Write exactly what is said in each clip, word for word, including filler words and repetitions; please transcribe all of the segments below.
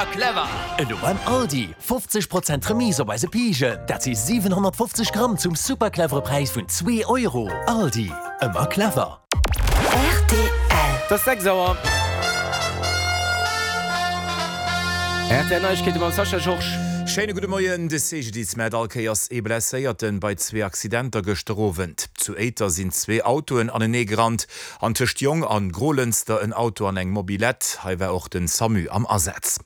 Ëmmer clever! Elo beim Aldi, fofzeg Prozent Remise op eise Pijen, dat si siwenhonnertfofzeg Gramm zum super clevere Präis vun zwee Euro. Aldi, ëmmer clever! Rtl. Et ass sechs Auer. R T L Neiegkeete mam Sascha Georges. Schéine gudde Moien. De C G D I S mellt all Kéiers ee Blesséierten bei zwee Accidenter gëschter Owend. Zu Éiter sinn zwee Autoen anenee gerannt an tëscht Jong an Grolënster en Auto an eng Mobylette. Hei war och den SAMU am Asaz.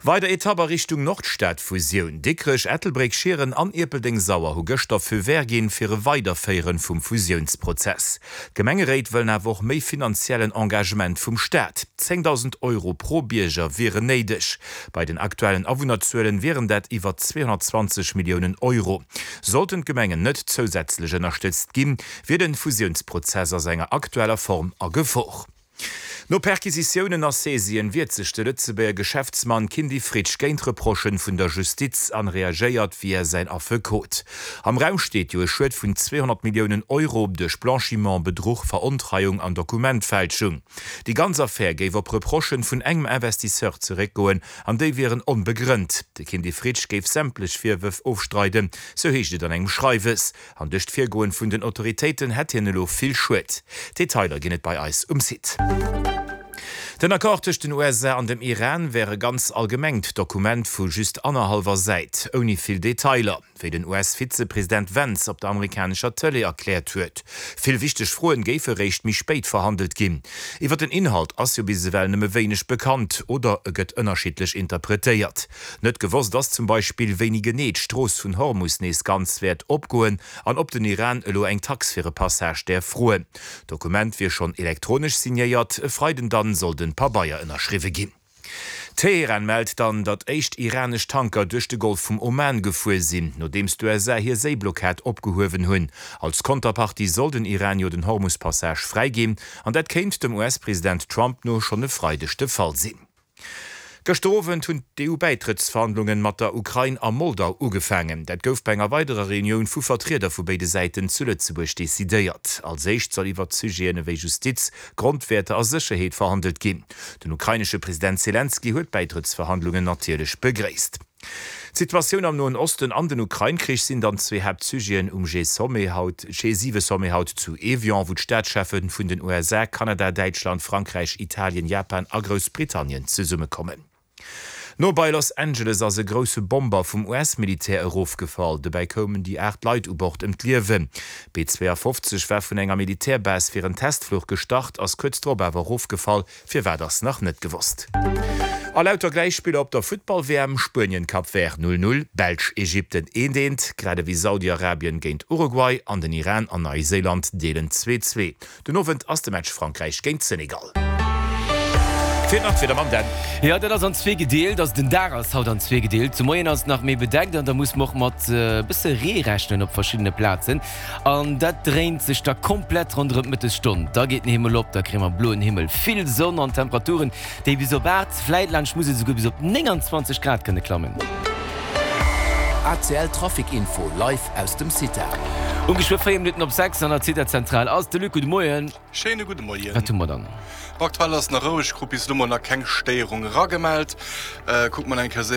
Weider Etapp a Richtung Nordstad-Fusioun. Dikrech, Ettelbréck, Schieren an Ierpeldeng-Sauer hu gëschter Feu vert ginn fir e Weiderféiere vum Fusiounsprozess. D'Gemengeréit wëllen awer och méi finanziellen Engagement vum Staat. zéngdausend Euro pro Bierger wieren néideg. Bei den aktuellen Awunnerzuelen wieren dat iwwer zweehonnertzwanzeg Milliounen Euro. Sollten d'Gemengen net zousätzlech ënnerstëtzt ginn, wier de Fusiounsprozess a senger aktueller Form a Gefor. No Perquisitiounen a Saisien wiert sech de Lëtzebuerger Geschäftsmann Kindy Fritsch géint Reprochen vun der Justiz an reagéiert via säin Affekot. Am Raum steet jo e Schued vun zweehonnert Milliounen Euro duerch Blanchiment, Bedruch, Verontreiung an Dokumentfälschung. Déi ganz Affär géif op Reprochen vun engem Investisseur zeréckgoen an déi wieren onbegrënnt. De Kindy Fritsch géif sämtlech Virwërf ofstreiden, sou heescht et an engem Schreiwes. An duerch d'Virgoen vun den Autoritéiten hätt hien elo vill Schued. Detailer ginn et bei eis um Site. Den Accord tëscht den U S A an dem Iran wär e ganz allgemengt Dokument vu just annerhallwer Säit, ouni vill Detailer, wéi den U S-Vizepresident Vance op der amerikanescher Tëlee erkläert huet. Vill wichteg Froen géife réischt méi spéit verhandelt ginn. Iwwer den Inhalt ass jo bis ewell nëmme wéineg bekannt oder e gëtt ënnerschiddlech interpretéiert. Net gewosst ass zum Beispill, wéini genee d'Strooss vun Hormus nees ganz wäert opgoen an ob den Iran elo eng Tax fir e Passage däerf froen. D'Dokument wier schonn elektronesch signéiert, e Freiden dann soll den Pabeier ënnerschriwwe ginn. Teheran mellt dann, datt éischt iranesch Tanker duerch de Golf vum Oman gefuer sinn, nodeems d'U S A hir Séiblockad opgehuewen hunn. Als Konterpartie soll den Iran jo den Hormus-Passage fräiginn, an dat kéint dem U S-President Trump no schonn e Freideg de Fall sinn. Gëschter Owend hunn d'E U-Bäitrëttsverhandlungen mat der Ukrain a Moldau ugefaangen. Dat gouf bei enger weiderer Reunioun vu Vertrieder vu béide Säiten zu Lëtzebuerg decidéiert. Als éischt soll iwwer Sujeten ewéi Justiz, Grondwäerter a Sécherheet verhandelt ginn. Den ukrainesche President Selenskyj huet d'Bäitrëttsverhandlungen natierlech begréisst. D'Situatioun am Noen Osten an den Ukrain-Krich sinn dann zwee Haaptsujeten um G-Sommet haut, G siwe-Sommet haut zu Evian, wou d'Staatscheffe vun den U S A, Kanada, Däitschland, Frankräich, Italien, Japan a Groussbritannien zesummekommen. No bei Los Angeles ass e grousse Bomber vum U S-Militär erofgefall. Dobäi koumen déi aacht Leit u Bord ëm d'Liewen. B zwouafofzeg war vun enger Militärbase fir en Testfluch gestart, ass kuerz drop awer erofgefall. Firwat ass nach net gewosst. A lauter Gläichspiller op der Futtball-W M, Spuenien-Cap Vert null null, Belsch-Ägypten eent eent, grad ewéi Saudi-Arabien géint Uruguay an den Iran an Neiséiland deelen zwee zwee. Den Owend ass de Match Frankräich géint Senegal. Fir nach fir der Mann denn. Jo, dat ass an zwee gedeelt, also den Dag ass haut an zwee gedeelt. De Moien ass et nach méi bedeckt an da muss mer och mat e bësse Ree rechnen op verschiddene Plazen. An dat dréint sech da komplett ronderëm d'Mëttesstonn. Da geet den Himmel op, da kréie mer bloen Himmel, vill Sonn an Temperaturen, déi bis op aacht, vläit laanscht Musel esouguer bis op nénganzwanzeg Grad kënne klammen. A C L Trafic Info live aus dem CITA. Um geschwë véier Minutten op sechs an der CITA-Zentral ass de Luc. Gudde Moien. Schéine gudde Moien. Wat hu mer dann? Aktuell ass nach roueg, krut bis elo mol nach keng Stéierung eragemellt. Kucke mer eng Kéier séier.